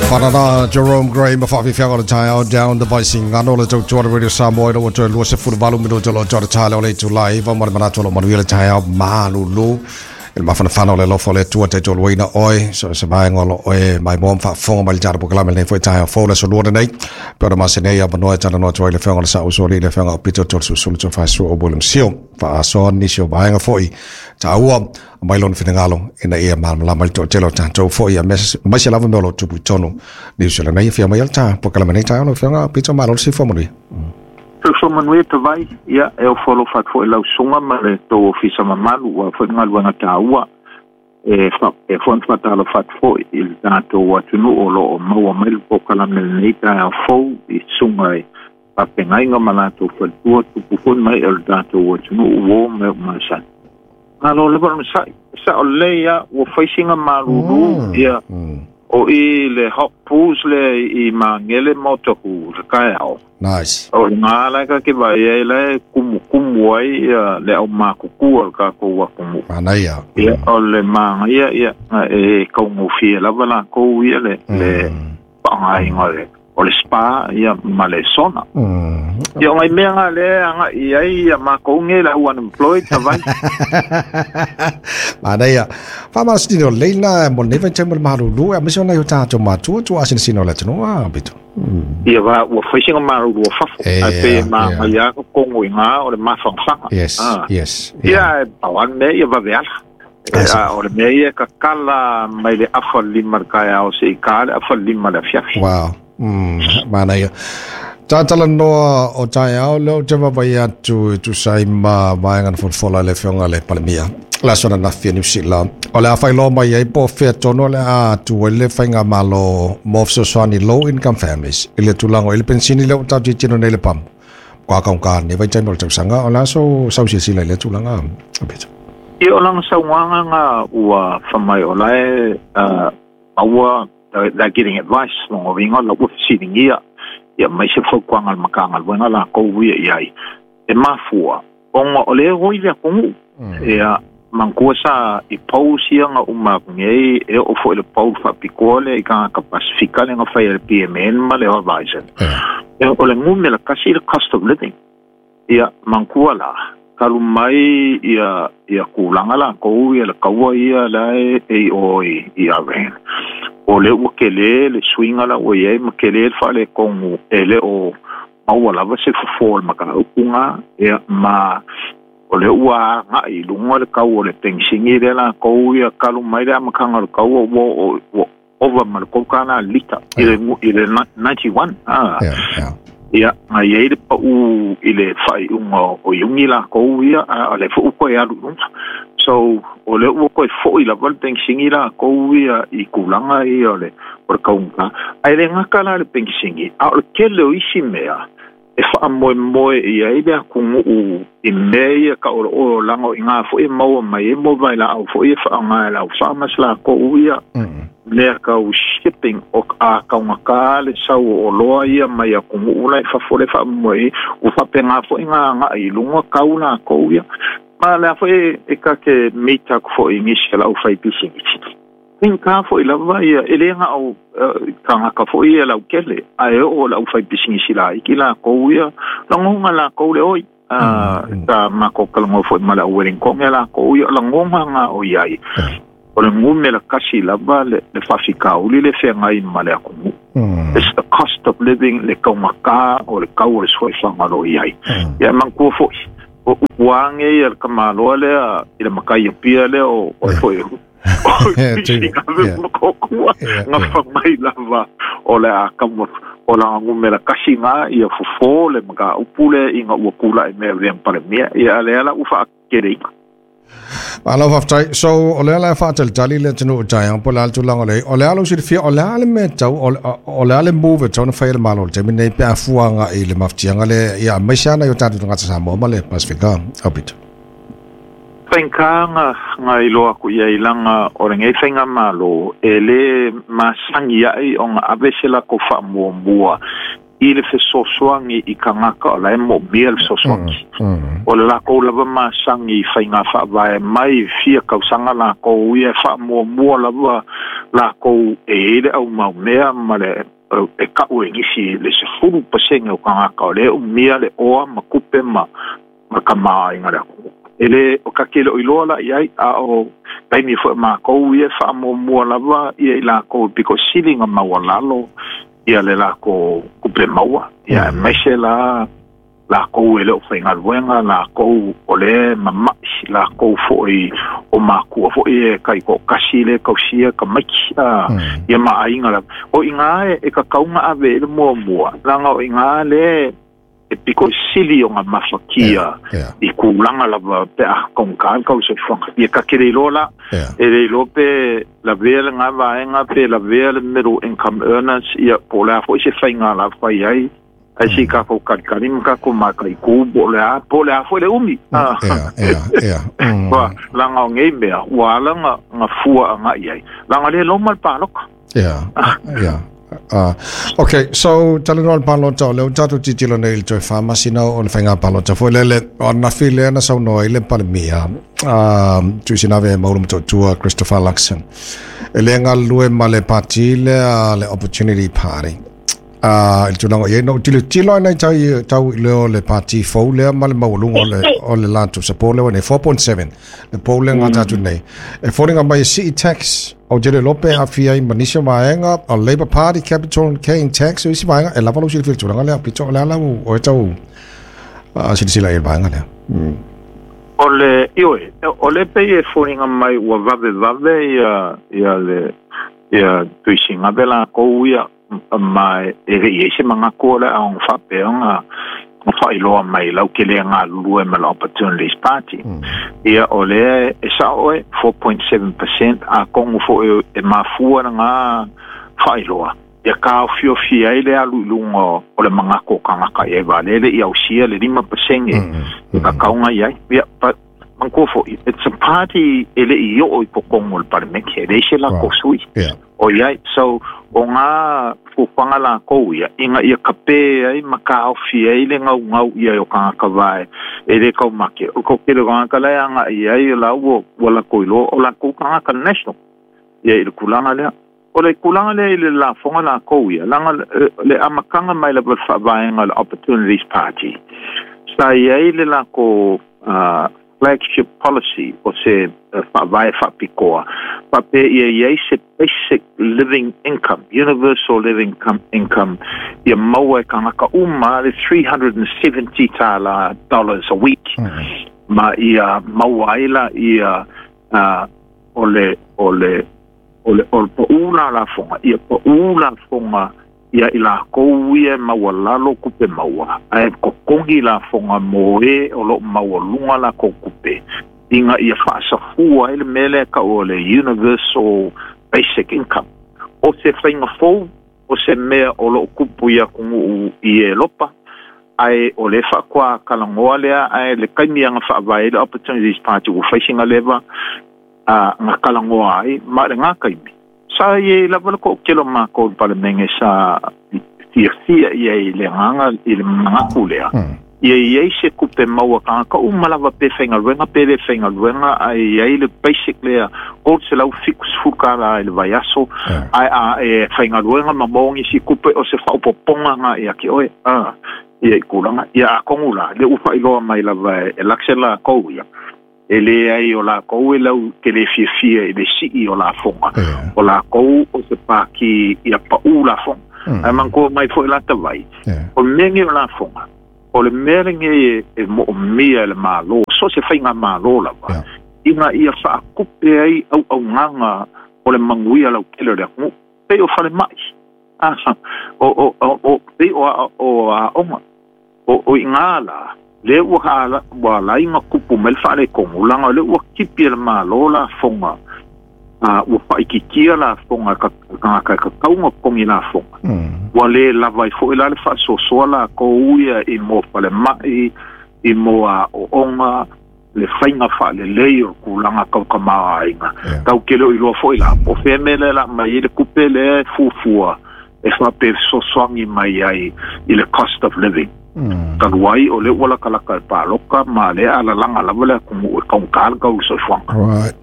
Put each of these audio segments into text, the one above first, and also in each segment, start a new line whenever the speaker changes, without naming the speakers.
Whanana Jerome Gray ma whawhiwhianga o le taeao down the Vaisigano le tautua le Radio Samoa ina ua toe 28 minuta o lo toa le o le itula 9 ma le manatu o lo manuia le taeao malulu i le mafanafana o le alofa o le Atua taitoluaina oe so se vaega o lo oe maimoa ma faafofoga mai le tatou polokalame lenei foi taeao fou le aso lua lenei pe ona masina ai avanoa e talanoa atu ai le afioga o le Saausoalii le afioga o Pito Tolesulusulu Tofaesu o William Seal faasoa nisi o vaega foi taua mai lona finagalo ina ia malamalama i le toatele o tatou foi aemaise lava mea o lo o tupu i totonu Niu Sila nei. Afio mai le ta polokalame nei taeao lau afioga Pito, malo le soifua manuia.
Soifua manuia Tavai, ia e ofo alofa atu foi lau susuga ma le tou ofisa mamalu aua foi le galuega taua e faapea foi ona faatalofa atu foi i le tatou atunuu o lo o maua mai le polokalame lenei taeao fou i susuga i faafeagaiga ma latou faletua, tupu foi ma ee o le tatou atunuu, uo ma e o masani. Malo lava le onosai. E sao lelei lava, ua fai sina malulu, ia, o i le hot pools lea i Magele ma Otahuhu i le taeao.
Nice.
O i ina la e ta te vaai ai la e kumukumu ai ia le aumatutua o le tatou atunuu.
Manaia.
Ia, o le manaia, ia, e taugofie lava latou ia le faaaogaina o le spa ia ma le sauna. Ia o nai mea na lea e agai i ai ia matou nei le au unemployed Tavai.
Manaia. Faamalositino lelei lena mo lenei vaitaimi o le malulu aemaise o nai o tatou matua tuuasinasina o le atunuu a Pito.
Ia va ua fai sina malulu o fafo ae pei e manaia lava totonu i ina o le mafanafana.
Yes, yes.
Ia e pau lava le mea ia vave ala. A o le mea ia e tatala mai le afa lima i le taeao seia ta le afa lima i le afiafi.
Wow. Manaia. Talanoa o taeao lea ou te vaavaai atu e tusa ai ma vaega na folafola e le Afioga i le Palemia le aso ananafi a Niu Sila. O le a faailoa mai ai po o fea tonu o le a tu ai le faigamalo mo fesoasoani low income families i le tulaga o i le penisini lea ua tatou tilotilo nei i le pamu. Ka kaunga nei vaitaimi o le tausaga o le a sou sau silasila i lea tulaga, Peter?
Ia o lana saunoaga na ua fai mai o la e maua, they're getting advice, lona uiga la ua fesiligia ia aumai se fautuaga a le Matagaluega latou ia i ai. E mafua ona o lea e oi le atunuu. Ia manatua sa i polls ia na uma atu nei e oo foi i le poll faapitoa lea i tagata Pasifika lea na fai e le PMN ma le Horizon. Ia o le numera tasi le cost of living. Ia manatua la, talu mai ia ia tulaga latou ia le taua ia la e i o i Iran. O lea ua tele le suiga la ua i ai ma tele le faaletonu e le o maua lava se fofo o le mataupu na, ia ma o lea ua agai i luga le tau o le penisini lea latou ia talu mai le amataga o le taua ua ua ova ma le $3 le lita i le i le 91 a. Ia na i ai le pau i le faaiuga o Iuni latou ia a o lea foi ua toe alu i luga. So o lea ua toe foi lava le penisini latou ia i tulaga ia o le o le taugata. Ae le gata la le penisini a o le tele o isi mea e faamoemoe i ai le atunuu i mea ia tau o le olaga o i ina foi e maua mai ai mo vailaau foi e faaaoga e le au farmers latou ia mea tau shipping o a taugata le sau o oloa ia mai atunuu la i fafo le faamoemoe i ai ua faapena foi ona agai i luga tau latou ia. Ma o le a foi e ta te meet atu foi i nisi o le aufaipisinisi. Faigata foi lava ia, e le na o tagata foi ia lautele, ae oo i le aufaipisinisi laiti latou ia, lagona latou le oi. Sa matou talanoa foi ma le au Wellington latou ia, o lagona na o i ai, o le numera tasi lava le faafitauli le feagai ma le atunuu. It's the cost of living, le taugata o le tau o le soifuaga o lo o i ai. Ia manatua foi, o upu lava nei a le tamaloa lea i le matai Apia lea o oe foi na fai mai lava o le a tau o lana numera tasi na ia fofo le mataupu lea ina ua tulai mai e avea ma Palemia. Ia a lea la ua faateleina.
Malo faafetai. So o lea la e faatalitali le atunuu i taeao po o le a le tulaga o le ai. O le a lou silafia, o le a le mea tau, o le a le move e tatau ona fai e le Malo i le taimi lenei pe a fua agai i le mafatiaga lea, ia aemaise lava nai o tatou tagata Samoa ma le Pasefika? Aupito.
Faigata na iloa aku i ai laga o lenei faigamalo e le masani ai ona ave se latou faamuamua I le fesoasoani i tagata o la e moomia le fesoasoani. O le lakou lava masani i faiga faavae mai fia tausaga lakou ia e faamuamua lava lakou e i ai le aumaumea ma le e ka'u e nisi le 10% o tagata o lea e umia le oa ma tupe ma ma tamaoaiga le atunuu. E le o ta tele o iloa la i ai, a o taimi foi o matou ia e faamuamua lava ia i lakou e pito sili ona maualalo ia le latou tupe maua, ia aemaise la lakou e le o faigaluega, lakou o lea e mama'i, lakou foi o matua foi e taitoatasi lea e tausia tamaiti, ia ma aiga lava. O i ina e tatau ona ave i ai le muamua, leaga o i ina lea e pito sili ona mafatia i tulaga lava pe a taugata le tau o le soifuaga. Ia ta te le iloa la, e le iloa pe lavea lena vaega pe lavea le middle income earners, ia po o le a foi se faiga la fai ai, ae se i tatou talitali ma tatou mataitu po o le a, po o le a foi le umi. Leaga o nei mea ua ala ona fua agai i ai, leaga o lea e loma le palota.
Yeah. Okay, so talanoa le palota, o lea ua tatou tilotilo nei i le toe 4 masina o le faiga palota foi lele. O ananafi lea na saunoa ai le Palemia, Tuisinave Maulu Motootua Christopher Luxon, e le galulue ma le pati lea, le Opportunity Party, i le tulaga o i ai. Na ou tilotilo ai nai tau, tau i leo le pati fou lea ma le maualuga o le latou support lea ua nei 4.7 le pou lea gata atu nei. E foliga mai e sii tax, ou te le iloa pe aafia ai ma nisi o vaega o Labour Party capital gain tax o isi vaega e lava lou silafia i le tulaga lea pito o le ala o e tau silasila i le vaega lea.
O le ioe, o le pei e foliga mai ua vavevave ia le ia Tuisinave lakou ia, ma e le i ai se manatu o le a ona faapea ona faailoa mai lau ke le galulue ma le Opportunities Party. Ia o lea e sao oe, 4.7%, atonu foi e mafua lena faailoa ia taofiofia ai le alu i luga o le manatu o tagata i ai va lele i ausia le 5% e tatau i ai. Ia, but manatua foi, it's a party e le i oo i totonu o le palemene, e leai se latou sui o i ai. So o ngā fuafuaga lakou ia ina ia kapē ai ma taofi ai le gaugau ia o tagata vae e le taumate. O le toatele o tagata la e agaʻi ai o la ua latou iloa o latou tagata national ia i le tulaga lea. O le tulaga lea i le lafoga lakou ia, laga le amataga mai lava le faavaega le Opportunities Party, sa i ai le lakou flagship policy o se faavae faapitoa faapea ia i ai se basic living income, universal living income, ia maua e tagata uma le 370 tala dollars a week, ma ia maua ai la ia o le paʻū la lafoga, ia paʻū lafoga ia i lakou ia e maualalo tupe maua, ae totogi lafoga mo e o loo maualuga lakou tupe, ina ia faasafua ai le mea lea tau o le universal basic income. O se faiga fou, o se mea o loo tupu i atunuu i Elopa, ae o le faatoa talanoa lea, ae le taimi aga faavae le Opportunities Party ua fai sina leva na talanoa ai ma le gā taimi. Sa i lava le toatele o matou i le palemene sa fiafia ia i le agaga i le manatu lea. Ia i ai se tupe maua tagata uma lava pe faigaluega pe le faigaluega, ae i ai le basic lea $370 i le vaiaso, ae a e faigaluega ma maua nisi tupe o se faaopoopoga ga ia te oe ia i tulaga. Ia atonu la, le ua faailoa mai lava e Luxon lakou ia, e leai o lakou e lau te le fiafia i le sii o lafoga. O lakou o se paki ia paʻū lafoga. Ae manatua mai foi la tavai, o le mea nei o lafoga, o le mea lenei e moomia e le Malo, so se faiga malo lava, ina ia faatupe ai auaunaga o le manuia lautele o le atunuu. Pei o falemai, o pei o aoga, o i ngā la, le ua alai nga kupu mai le faaletonu, laga o le ua tipi e le Malo lafoga, ua faaitiitia lafoga tagata e tatau ona totogi lafoga. Ua lē lava ai foi la le faasoasoa lakou ia i mo falemai, i mo aoaoga, le faiga faalelei o le tulaga tautamāaiga. Tau tele o iloa foi la, po o fea mea lea la mai ai le tupe lea e fuafua. e faapesosoagi mai ai i le cost of living. Talu ai o lea ua latalata i le paloka ma lea alalaga lava le atunuu e taugata le tau o le soifuaga.
Right.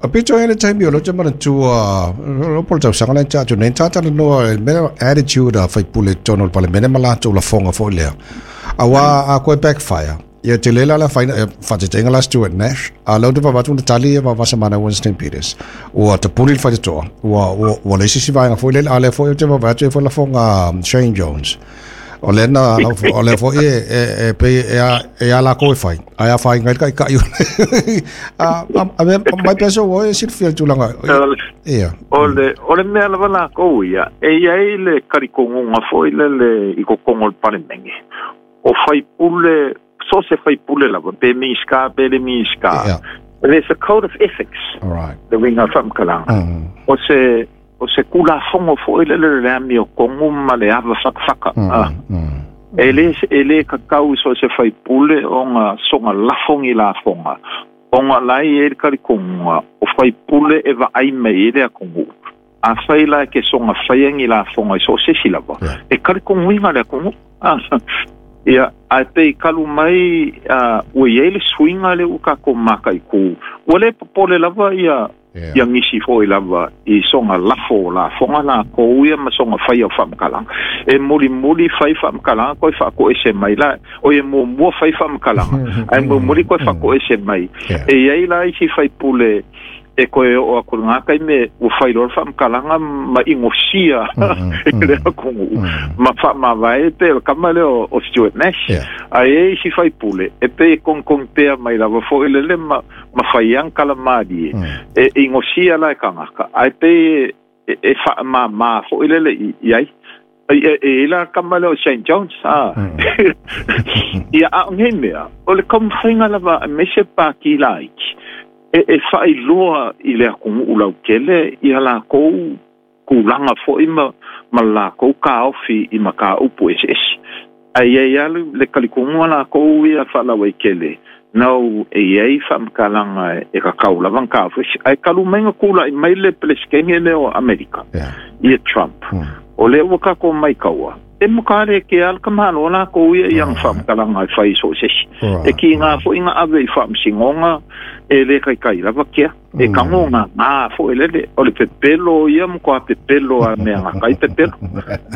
A pito ai le taimi o lea ou te manatua, o po o le tausaga lea na tea atu nei, na talanoa i le mea attitude a faipule i totonu o le Palemene ma latou lafoga foi lea. Aua a koe backfire, ia tele la le afaina, faataitaiga la Stuart Nash, a o lea ou te vaavaai atu na tali ia Vasamana Winston Peters. Ua tapuni le faitotoa, ua leai se isi vaega foi lele, a o lea foi ou te vaavaai atu e i ai foi lafoga a Shane Jones. O lea na, o lea foi e pei e a lakou e fai, ae afaina ai le taitai o le a mea mai pea sou oe e silafia le tulaga. Ia.
O le mea lava lakou ia, e i ai le talitonuga foi lele i totonu o le Palemene, o faipule, so o se faipule lava, pe Minisita pe le Minisita, there's a code of ethics, le uiga o le faamatalaga. O se Tulafono foi lele o le amiotonu ma le ava fatafata. E le tatau i so o se faipule ona soga lafo ni lafoga, ona la e i ai le talitonuga o faipule e vaai mai i ai le atunuu. Afai la e te soga faia ni lafoga i so o se isi lava, e talitonuina le atunuu. Ia, ae pei talu mai ua i ai le suiga lea ua tatou mataitu, ua le popole lava ia ia nisi foi lava i soga lafo o lafoga lakou ia ma soga faia o faamatalaga. E mulimuli fai faamatalaga koe faatoese mai la, oi e muamua fai faamatalaga, ae mulimuli koe faatoese mai. E i ai la isi faipule e toe oo atu i lena taimi ua fai loa le faamatalaga ma inosia i le atunuu ma faamavae pei o le tama lea o Stuart Nash. Ae i ai isi faipule e pei e togitogi pea mai lava foi lele ma ma fai ana tala malie, e inosia la e tagata, ae pei e faamāmā foi lele i ai. E i ai la tama lea o Shane Jones, a. Ia, a o nei mea, o le taumafaiga lava aemaise Pāti laiti, e faailoa i le atunuu lautele ia latou tulaga foi ma latou taofi i mataupu eseese. Ae i ai lava le talitonuga latou ia faalauaitele, nau e i ai faamatalaga e tatau lava ona taofi. Ae talu mai na tulai mai le Peresetene lea o Amerika, ia Trump, o lea ua tatou maitaua, e matua le kea le tamaloa latou ia i ana faamatalaga e fai i so o se isi. E kiga foi na ave i faamasinoga e le taitai lava kea. E tago gagā foi lele, o le pepelo ia matua pepelo a mea gata ai pepelo.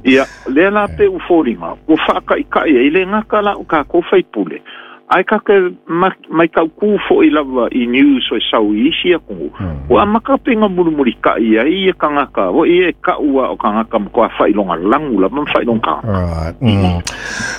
Ia, lea la pei ua foliga, ua faataitai ai le gata la o tatou faipule, ae ta te maitautū foi lava i news e sau i isi atunuu, ua amata pei ona mulimulitai ai ia tagata foi ia e tau a o tagata matua faailoga lanu lava ma faailoga tagata.
Alright.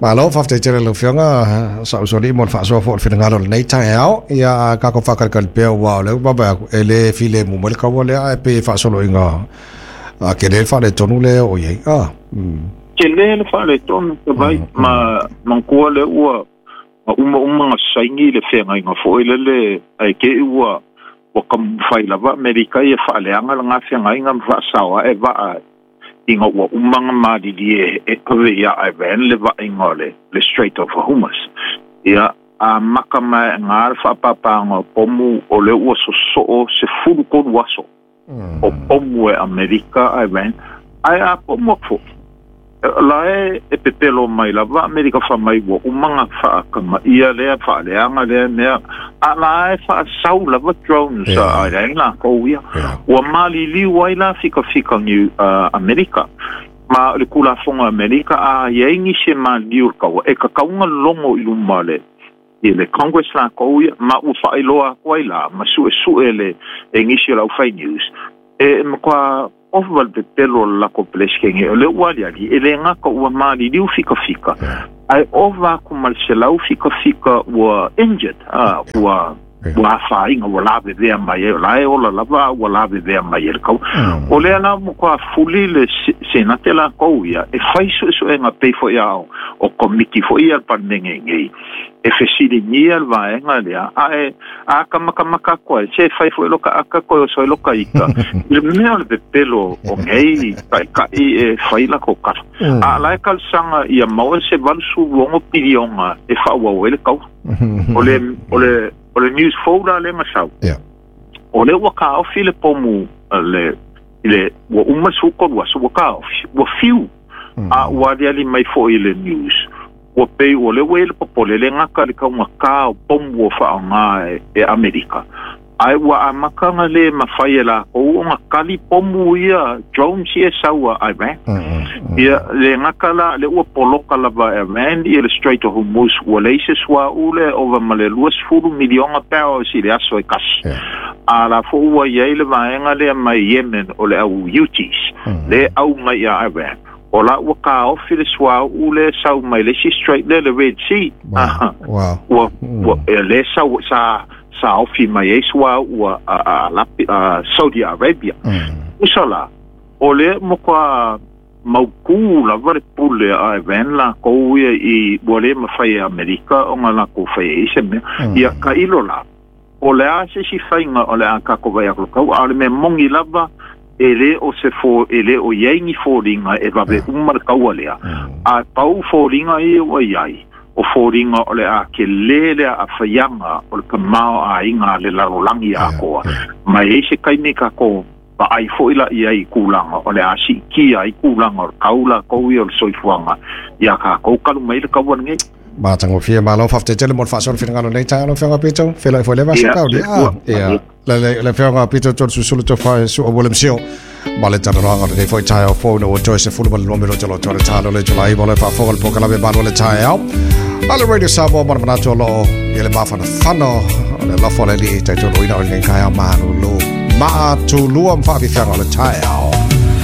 Malo, faafetai tele lau Afioga Sausoli mo le faasoa foi o le finagalo o lenei taeao. Ia, tatou faakalikali pea aua o lea ua vaavaai atu, e le filemu mai le kaua lea, ae pei e faasoloina tele le faaletonu lea e oo i ai. Ah.
Tele le faaletonu, Tavai, ma manatua lea ua uma ona saini le feagaiga foi lele, ae te i ua taumafai lava Amerika ia faaleaga lena feagaiga ma faasao ae vaa ina ua uma ona malilie e ave iā Iran le vaaiga o le Strait of Hormuz. Ia, amata mai i le faapapaaga o pomu o lea ua sosoo 13 aso o pomu e Amerika Iran, ae a pomu atu foi, la e pepelo mai lava Amerika fai mai ua uma ona faatamaia lea, faaleaga lea mea, a la e faasau lava drones a Iran latou ia. Ua maliliu ai la fikafika ni Amerika. Ma o le Tulafono a Amerika, a i ai nisi e maliliu i le taua, e tatau ona logo i luma le i le Congress latou ia, ma ua faailoa atu ai la, ma suesue le e nisi o le aufai news, e matua ova le pepelo o le latou Peresetene, o lea ua aliali, e le gata ua maliliu fikafika, ae ova atu ma le 100 fikafika ua injured, ua afaina, ua lavevea mai ai, o la e ola lava a ua lavevea mai e le taua. O lea la ua matua fuli le Senate latou ia, e fai suesuega pei foi a o komiti foi ia a le Palemene nei, e fesiligia le vaega lea, ae a ka makamaka atu ai, se fai foi loka aka koe oso ai loka ika, i le mea o le pepelo o nei taitai e fai latou kala. A la e talosaga ia maua se 86 piliona e faaauau ai le taua. O le, o le, o le news folder lea na sau, o lea ua taofi le pomu le I le ua uma le 13 aso ua taofi, ua fiu, a ua aliali mai fo'i i le news, ua pei o lea ua i ai le popole, e le gata i le taugatā o pomu ua faaaoga e Amerika, ae ua amata ona le mafai e lakou ona kali pomu ia, drones ia e sau a Iran. Ia, le gata la, lea ua poloka lava e Iran ia le Strait of Hormuz, ua leai se suauu lea e ova ma le 20 miliona barrels i le aso e tasi. A la foi ua i ai le vaega lea mai Yemen o le au Houthis, lea e au mai ia Iran, o la ua taofi le suauu lea e sau mai le isi strait lea, le Red Sea. Ua, ua, lea sau, sa, sa ofi mai ai suauu a, a, a, a Saudi Arabia. Usa la, o lea matua mautū lava le pule a Iran lakou ia i, ua le mafai e Amerika ona lakou fai ai se mea. Ia, tailo la, O le a se isi faiga o le a tatou vaai atu tau, a o le mea moni lava, e le o se fo, e le o i ai ni foliga e vave uma le taua lea, a pau foliga ia ua i ai, o foliga o le a telē le aafaiaga o le tamaoaiga a le lalolagi atoa. Ma e i ai se taimi tatou vaai foi la i ai i tulaga o le a siitia ai tulaga o le tau latou ia o le soifuaga iā tatou talu mai le taua lenei.
Matagofie, malo faafetai tele mo le faasoa le finagalo nei taeao lau Afioga Pito. Feiloai foi lea vasa
Ia,
tau lia.
soifua.
Ia,
Manuia.
le le le Afioga Pito Tolesusulu Tofa Su'a William Seal. Ma le talanoaga o lenei foi taeao fou ina ua toe 12 minute o lo toe le talo le Julai mo le faafofoga le polokalame Malu o le taeao. A le Radio Samoa ma le manatu o loo i le mafanafana o le alofa o le Alii taitoloina o lenei taeao malolo. Maatulua ma faafiafiaga o le taeao.